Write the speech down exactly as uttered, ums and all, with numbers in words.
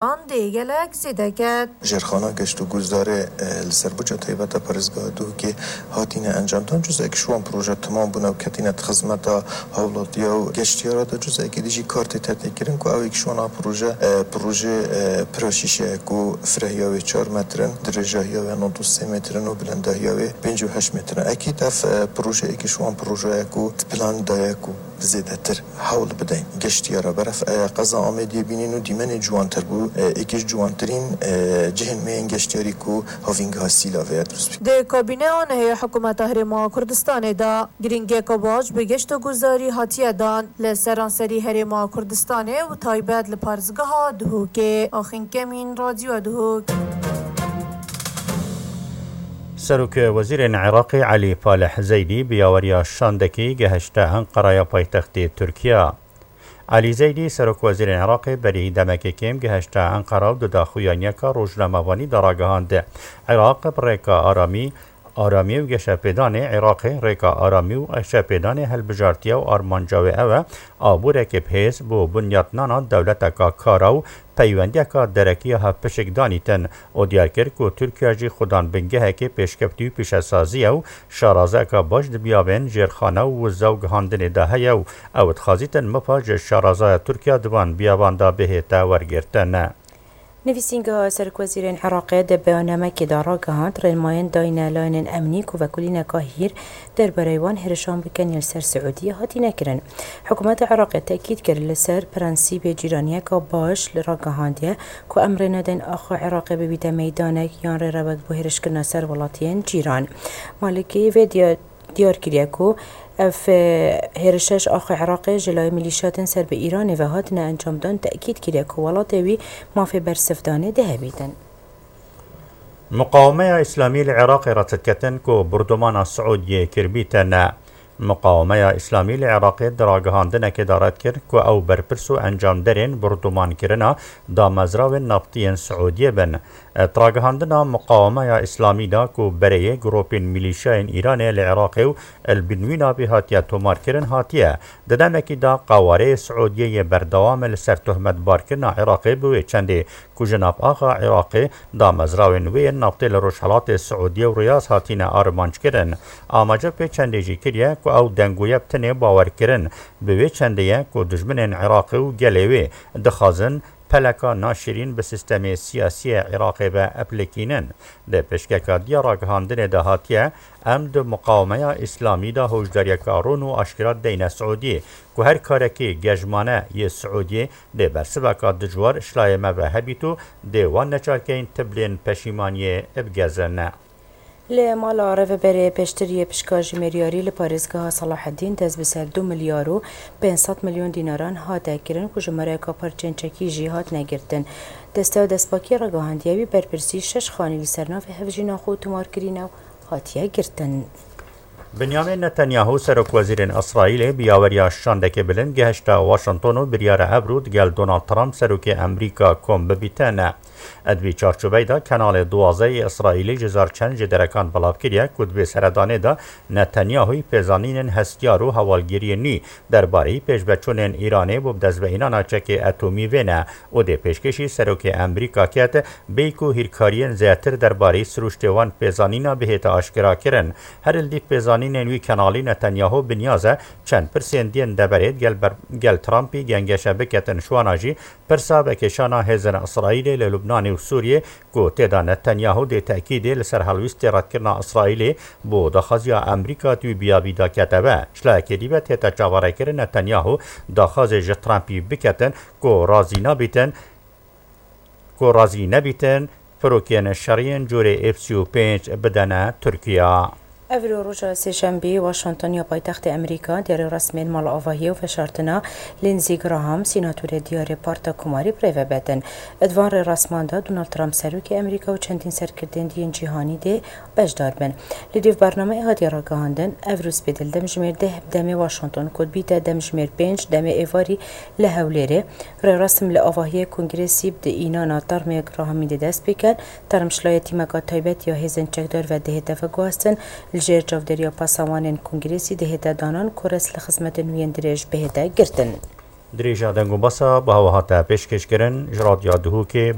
an dê gelek zêde ket. Jêrxana geşt û guhdarê, e, li ser budca taybet a parêzgeha Duhokê hatine encamdan. Cuzek ji wan proje temam bûne û ketine di xizmeta hawlatiya û geştiyara de. Cuzekî dî jî kar tê têkirin ku ew êk ji wan a proje, e, proje, e, pira şîşe ye ku firehiya wê çar metr in, dirêjahiya wê nod û sê metr in û bilindahiya wê pêncî û heşt metr in. Ekîd ev, e, proje êk ji wan proje ye ku di planê de ye ku bi zêdetir hewl bidin. Geştiyara beref, e, qeza Amêdiyê bînin û dîmenê ciwantir bû. E, êk ji ciwantirîn, e, cihên me yên geştiyarî ku havîngeha Sîlavê ye dirust bî. Di kabîneya nehê hikûmeta Herêma Kurdistanê de girîngiyeke baş bi geşt û guhdarî hatiye dan li seranserî Herêma Kurdistanê û taybet li parêzgeha Duhokê. Axîn Kemîn, Radyo Duhok. Serok Wezîrên Iraqê Elî Falih Zeydî bi yaweriya şandekî gehişte Enqeraya paytextê Tirkiye. Elî Zeydî, Serok Wezîrên Iraqê berî demekê kêm gehişte Enqera û di daxuyaniyeka rojnamevanî de ragihand, Iraq bi rêka aramî, aramî û geşepêdanê, Iraqê rêka aramî û geşepêdanê hilbijartiye û armanca wê ew e, aboreke bi hêz bo bunyatnana dewleteka kara û peywendiyeka derekî ya hevpişik danîtin û diyar kir ku Tirkiye jî xudan bingehekê pêşkeftî û pîşesazî ye û şarazayeka baş di biyabên jêrxane û wiza û gihandinê de heye û ew dixwazîtin mipa ji şarazaya Tirkiye di van biyaban de bihête wergirtin. Nivîsîngeha Serokwezîrên Iraqê di beyanamekê de ragihand, rênmayên dayîne layînên emnî ku vekolîneka hîr derbarê wan hêrişan bikin yên li ser Siûdiyê hatine kirin. Hikûmeta Iraqê tekîd kir li ser prensîbê cîraniyeka baş li ragihandiye ku em rê nedin axê Iraqê bibîte meydanek yan rêrewek bo hêrişkirina ser welatiyên cîran. Malikî vê diya-, diyar kiriye ku ev, e, hêrişe ji axê Iraqê ji layê milîşyatên ser bi Îranê ve hatine encamdan, tekîd kiriye ku welatê wî mafê bersivdanê dihebîtin. Muqawemeya Îslamî li Iraqê re diketin ku bordûmana Siûdiyê kiribîte ne. Muqawemeya Îslamî li Iraqê di ragihandinekê de red kir ku ew berpirs û encamderên bordûmankirina damezrawên naftî yên Siûdiyê bin. Di ragihandina Muqawemeya Îslamî de ku bereyê grûpên milîşyayên Îranê li Iraqê û li bin wî navê hatiye tomarkirin hatiye, di demekî de qawareyê Siûdiyê yê berdewam e li ser tohmetbarkirina Iraqê bi wê çendê ku ji nav axa Iraqê damezrawên wê yên naftê li Rojhelatê Siûdiyê û Riyaz hatine armanckirin. Amaje pê çendê jî kiriye ku ew dengûye bi tenê bawerkirin bi wê çendê ye ku dijminên Iraqê û gelê wê dixwazin peleka naşirîn bi sîstemê siyasî yê Iraqê ve eplikînin. Di pişkeka diya ragihandinê de hatiye, em di Muqawemeya Îslamî de hişdariyeka rûn û aşkera deyne Siûdiyê ku her karekî gejmane yê Siûdiyê dê bersiveka dijwar ji layê me ve hebît û dê wan neçarkeyên tiblên peşîmaniyê bigezin. Li mala Rêveberê Piştgiriyê pişka jimêriyarî li parêzgeha Selahedîn dest bi ser du milyar û pênc sed milyon dînaran hate kirin ku jimareyeka parçeyên çekî jî hatine girtin. Desteya destpakiyê ragihandiye wî berpirsî şeş xanî li ser navê hevjîna xwe tomarkirî ne û hatiye girtin. Binyamin Netanyahu, Serokwezîrên Îsraîlê, bi yaweriya şandekê bilind gehişte Washington û biryar e evro digel Donald Trump, Serokê Amerîka, kom bibîte ne. Di vî çarçoveyê de Kanalê Duwazdeh yê Îsraîlê ji zarçend ji derekan belav kiriye ku di vê seredanê de Netanyahu pêzanînên hestiyar û hewalgiriyên nû derbarê pêşveçûnên Îranê bo bi dest ve înana çekê etomî vêne û dê pêşkêşî Serokê Amerîka ket, bêyî ku hîrkariyên zêdetir derbarê sirûştê wan pêzanîna bihête aşkera kirin. Her li dîv pêzanînên wî Kanalê Netanyahu bi niyaz e çend pirsên diyên deverê gel ber-, gel Trumpî gengeşe biketin, ji wana jî pirsa vekêşana hêzên Îsraîlê li Lubnanê û Sûriyê ku tê de Netanyahu dê tekîdê li ser helwîstê redkirina Îsraîlê bo daxwaziya Amerîka di wî biyabî de kete ve. Ji layekê dî ve tête çaverêkirin Netanyahu daxwazê ji Trumpî biketin ku razî nabîtin, ku razî nebîtin firokên şerî yên cûrê F sî û pênc bidene Tirkiye. Evro roja sêşembî, Washington ya paytextê Amerîka, diyarê resmên malavahiyê û veşartina Lindsey Graham, sînatorê diyarê Parta Komarî, bi rê ve betin. Di van rêresman de Donald Trump, serokê Amerîka û çendîn serkirdên diyên cîhanî dê beşdar bin. Li dîv bernameyê hatiye ragihandin, evro spêdil demjimêr deh bi demê Washington ku dibîte demjimêr pênc demê êvarî li Hewlêrê. Rêresim li avahiyê kongresî bi di înana termê Grahamî dê dest pê ket. Term ji layê tîmeka taybet ya hêzên çekdar ve dihête veguhastin, li jêr çavdêriya pasewanên kongresî dihête danan ku rêz li xizmetên wî yên dirêj bihête girtin. Dirêja deng û besa bi hewa hate pêşkêşkirin ji Radya Duhokê.